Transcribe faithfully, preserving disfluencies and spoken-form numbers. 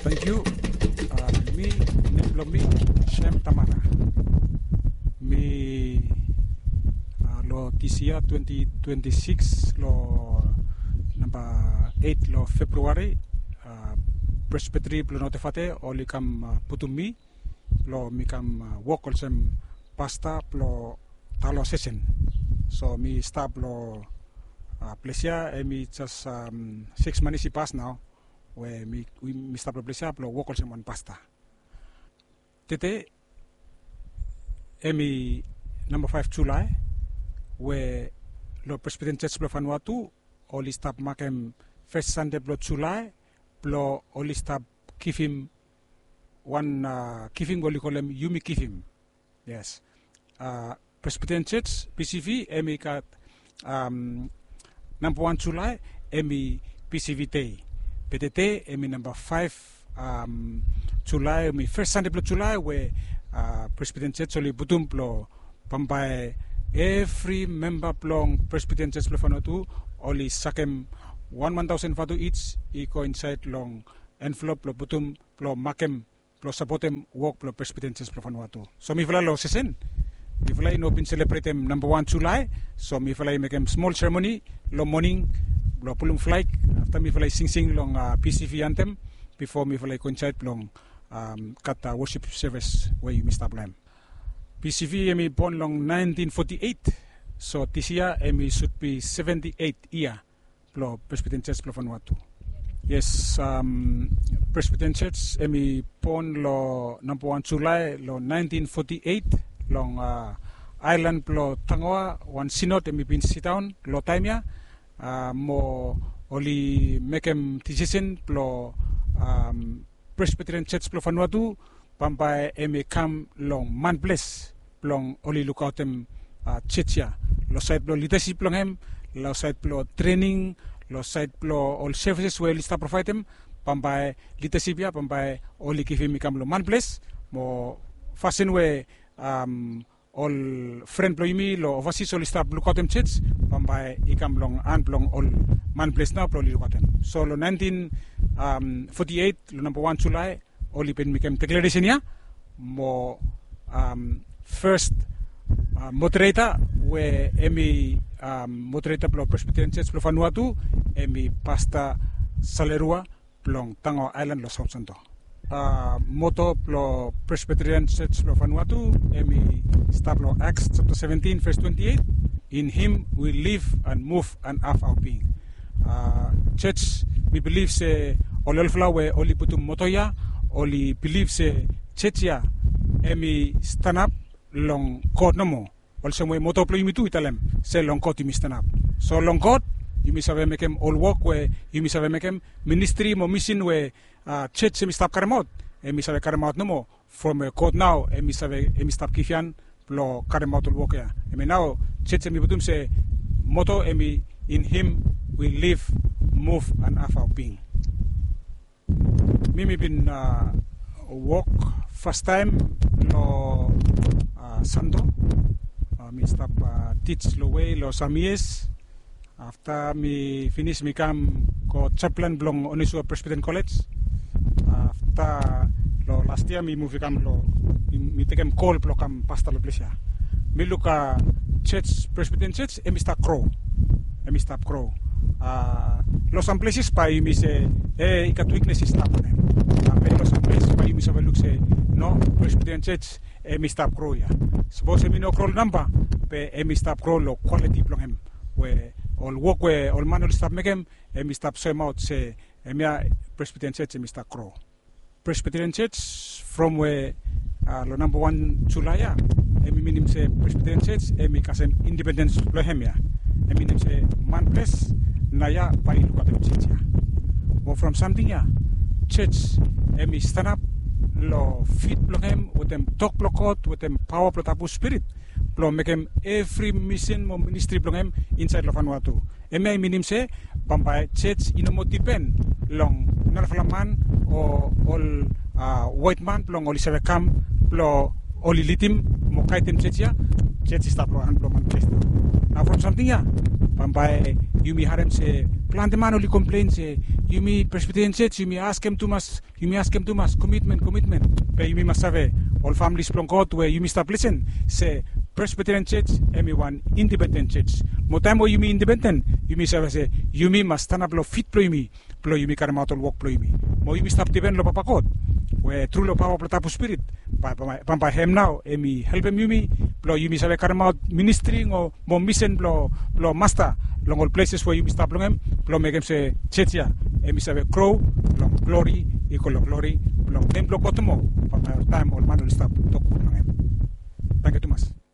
Thank you. Uh, mi, nem blong mi, Shem Tamara. Mi, uh, lo this year twenty twenty-six lo number eight lo February, uh, Presbytery blo Notefate oli kam, uh, putum mi lo mi kam, uh, wok olsem pasta blo diocesan. So mi stap lo, uh, ples ya, em i jes, um, six months i pas nao we mi, mi stap lo ples ya blo wok olsem wan pasta. Tede em i namba five July we lo Presbyterian Church blo Vanuatu oli stap makem first Sunday blo July blo oli stap givim wan, uh, givim we oli kolem Yumi Givim. Yes. Uh, Presbyterian Church, P C V, em i gat, um, namba wan July em i P C V Day. Be tede em i namba five, um, July, em i first Sunday blo July we, uh, Presbyterian Church oli putum blo bambae evri memba blong Presbyterian Church blo Vanuatu oli sakem wan wan taosen vatu each i go insaed long envelop blo putum blo makem blo sapotem wok blo Presbyterian Church blo Vanuatu. So mifala lo sesen, mifala i no bin selebretem namba wan July. So mifala i mekem smol seremoni lo moning blo pulum flag. Afta mifala i singsing long, uh, P C V antem bifo mifala i go insaed blong, um, gat, uh, worship service we yumi stap lo hem. P C V em i bon long nineteen forty-eight. So this year em i should be seventy-eight year blo Presbyterian Church blo Vanuatu. Yes, um, Presbyterian Church em i bon lo namba wan July lo nineteen forty-eight long, uh, aelan blo Tangaua. Wan sinod em i bin sidaon lo taem ya, uh, mo oli mekem disisen blo, um, Presbyterian Church blo Vanuatu bambae em i kam long manples blong oli lukaotem, uh, church ya lo saed blo lidasip blong hem, lo saed blo trening, lo saed blo ol services we oli stap provaedem. Bambae lidasip ya bambae oli givim i kam lo manples. Mo fasin we, um, ol fren blo yumi lo ovasis oli stap lukaotem church, bambae i kam long han blong ol manples nao blo oli lukaotem. So lo nineteen, um, forty-eight lo namba wan July oli bin mekem deklaresen ya mo, um, first, uh, moderator we em i, um, moderator blo Presbyterian Church blo Vanuatu em i Pasta Salerua blong Tangaua Aelan lo Saot Santo. Uh, moto blo Presbyterian Church blo Vanuatu em i stap lo Acts chapter seventeen verse twenty-eight. In him we live and move and have our being. Uh, church, mi bilif se ol olfala we oli putum moto ya oli bilif se church ya em i stanap long God nomo. Olsem we moto blo yumi tu i talem se long God yumi stanap. So long God yumi save mekem ol wok we yumi save mekem, ministri mo misin we, uh, church em i stap karemaot, em i save karemaot nomo from we God nao em i save, em i stap givhan blo karemaot ol wok ya. Hemia nao church em i putum se moto em i, in him we live, move and have our being. Mi mi bin, uh, wok fastaem lo, uh, Santo. Uh, mi stap, uh, tij lo we lo sam yias. Afta mi finis mi kam go japlan blong Onisua Presbyterian College. Afta lo las yia mi muv i kam lo, mi, mi tekem kol blo kam pasta lo ples ya. Mi luk, a, church, Presbyterian Church em i stap gro. Em i stap gro. A, lo sam pleses bae yumi se, e, i gat wiknes i stap long hem. A, be lo sam ples bae yumi save luk se, no, Presbyterian Church em i stap gro ia. Sapos em i no gro lo namba, be em i stap gro lo kwaliti blong hem, we ol wok we ol man oli stap mekem, em i stap soemaot se hemia Presbyterian Church em i stap gro. Presbyterian Church from we, a, lo namba wan Julae ia, em i minim se Presbyterian Church em i kasem independens blong hem ia. Em i minim se manples naoia bae i lukaotem church ia. Mo from samting ia, church em i stanap lo fit blong hem wetem tok blong God, wetem paoa blong Tabu Spirit, blong mekem evri misin mo ministri blong hem insaed lo Vanuatu. Hemia i minim se bambae church i no moa dipen long narafala man o ol, a, waet man blong oli save kam blong oli lidim mo gaedem church ia. Church i stap lo han blong manples nao. Nao from samting ia, bambae yumi harem se plante man oli komplen se Yumi Presbyterian Church, yumi askem tumas, yumi askem tumas komitmen, komitmen. Be yumi mas save, ol familis blong God we yumi stap lisen, se Presbyterian Church em i wan independen church. Mo taem we yumi independen, yumi save se yumi mas stanap long fit blong yumi, blong yumi karemaot ol wok blong yumi. Mo yumi stap dipen long Papa God we tru long paoa blong Tabu Spirit, bambae hem nao em i helpem yumi blong yumi save karemaot ministri o mo misen blong Masta long ol pleses we yumi stap long hem, blong mekem se church ya em i save gro long glori i go long glori blong nem blong God nomo, bambae oltaem ol man oli stap tok gud long hem. Tangkiu tumas.